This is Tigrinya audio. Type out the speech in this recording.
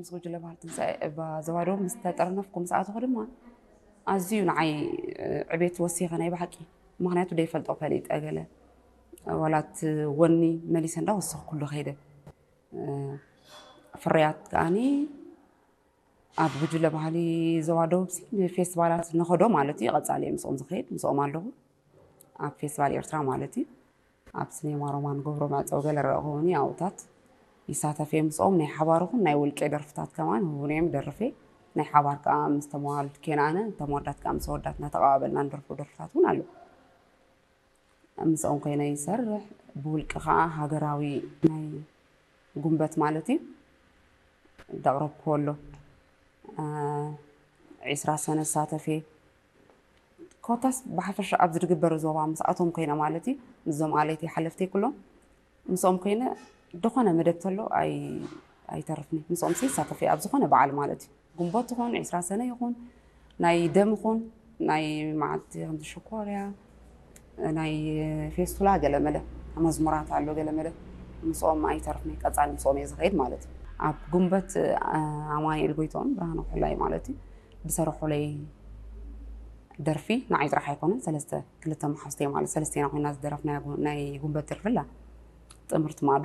ምስ ጉጅለ ባህሊ ትንሳኤ እባ ዘዋደው ምስ ተጠርነፍኩ ምስ ኣተኹ ድማ ኣዝዩ ንዓይ ዕቤት ወሲኸ ናይ ብሓቂ። ምኽንያቱ ደይፈልጦ ፈሊጠ ገለ ዋላት ወኒ መሊሰ እንዳወሰኽኩሉ ከይደ። ፍርያት ከኣኒ ኣብ ጉጅለ ባህሊ ዘዋደው ሲ ንፌስቲቫላት ንኸዶ ማለት እዩ። ቀጻሊ ምስኦም ዝኸይድ ምስኦም ኣለኹ። ኣብ ፌስቲቫል ኤርትራ ማለት እዩ። ኣብ ስኔማ ሮማን ገብሮ መዕጸው ገለ ረእኹኒ ኣብታት ይሳተፍ እየ ምስኦም። ናይ ሓባር ኹን ናይ ውልቄ ደርፍታት ከማን ህቡን እዮም ደርፌ። ናይ ሓባር ከዓ ምስ ተመዋል ኬናነ ተመወዳት ከዓ ምስ ወዳት እናተቐባበልና ንደርፎ ደርፍታት እውን ኣሎ። ምስኦም ኮይነ ይሰርሕ። ብውልቂ ከዓ ሃገራዊ ናይ ጉንበት ማለት እዩ ደቕረብክዎ ኣሎ። ዒስራ ሰነ ዝሳተፍ እየ። ኮታስ ብሓፈሻ ኣብ ዝድግበር ዞባ ምስኣቶም ኮይነ ማለት እዩ። ምስዞም ኣለይቲ ሓለፍተይ ኩሎም ምስኦም ኮይነ ዝኾነ መደብ ተሎ ኣይተርፍኒ። ምስኦም ይሳተፍ እየ ኣብ ዝኾነ በዓል ማለት እዩ። ጉንቦት ይኹን ዒስራ ሰነ ይኹን ናይ ደም ይኹን ናይ መዓልቲ ከምዚ ሽኮርያ ናይ ፌስቱላ ገለመለ መዝሙራት ኣሎ ገለመለ ምስኦም ኣይተርፍኒ። ቀፃሊ ምስኦም እየ ዝኸይድ ማለት እዩ። ኣብ ጉንበት ኣማኒኤል ጎይቶም ብርሃነ ኩላይ ማለት እዩ ብሰረሑለይ ደርፊ ንዓይ ጥራሕ ኣይኮነን ሰለስተ ክልተ መሓዝተይ ማለት ሰለስቴና ኮይና ዝደረፍና ናይ ጉንበት ደርፊ ኣላ ጥምርቲ ማዶ